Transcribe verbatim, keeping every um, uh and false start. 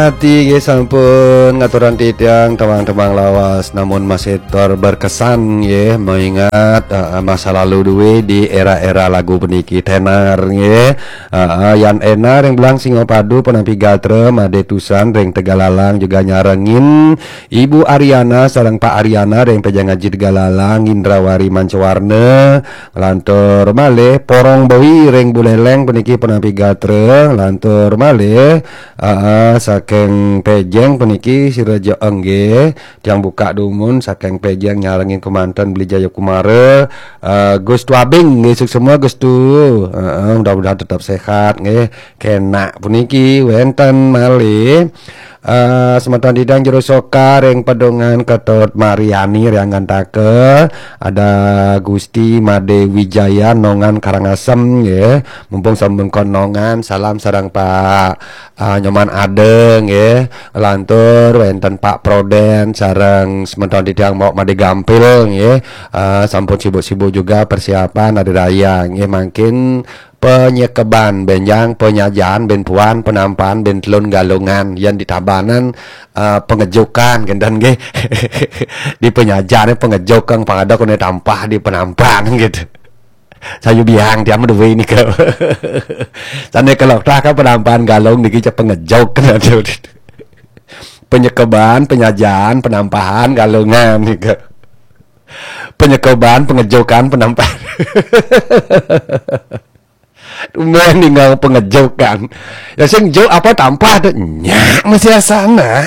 Ati nggih sampun ngaturan titiang tembang-tembang lawas, namun masih ter berkesan nggih, mengingat, eh, masa lalu duwe di era-era lagu puniki. Tenar nggih. Heeh, Yan Ena ring Belang Singapadu, penampi gatra, Made Tusan ring Tegalalang juga nyarengin Ibu Ariana sareng Pak Ariana ring Pejang Aji Tegalalang, Indrawari Mancawarna, lantur malih Porong Boi ring Buleleng puniki penampi gatra, lantur malih, heeh, saking Pejeng puniki Siraja Enggih, tiang buka dumun saking Pejeng nyarengin kemanten Beli Jaya Kumara, eh, Gus Tuabing, nggih, suksma Gus Tu. Heeh, mudah-mudahan tetap sehat nggih. Kenak puniki wenten malih, eh, semeton titiang Jero Soka ring Pedungan Ketut Mariani ring Gantaka, ada Gusti Made Wijaya Nongan Karangasem nggih. Mumpung sampun kon Nongan, salam sareng Pak, eh, Nyoman Ade nggih. Lantur wenten Pak Proden sareng semeton titiang Mok Made Gampil nggih. Eh, sampun sibuk-sibuk juga persiapan hari raya nggih, mangkin penyekeban benjang, penyajan ben puan, penampahan ben telun, Galungan, yen di Tabanan, eh, pengejukan kenten nggih. Di penyajan pengejuk kang pangadok ne tampah di penampahan gitu. Sayu biang tiang duwe nika. Sane kelok tah ka penampahan Galung niki cek pengejuk. Penyekeban, penyajan, penampahan, Galungan nika. Penyekeban, pengejukan, penampahan. Tumben ninggal pengejukan. Ya sing juk apa tampah tu? Nyak masih asana.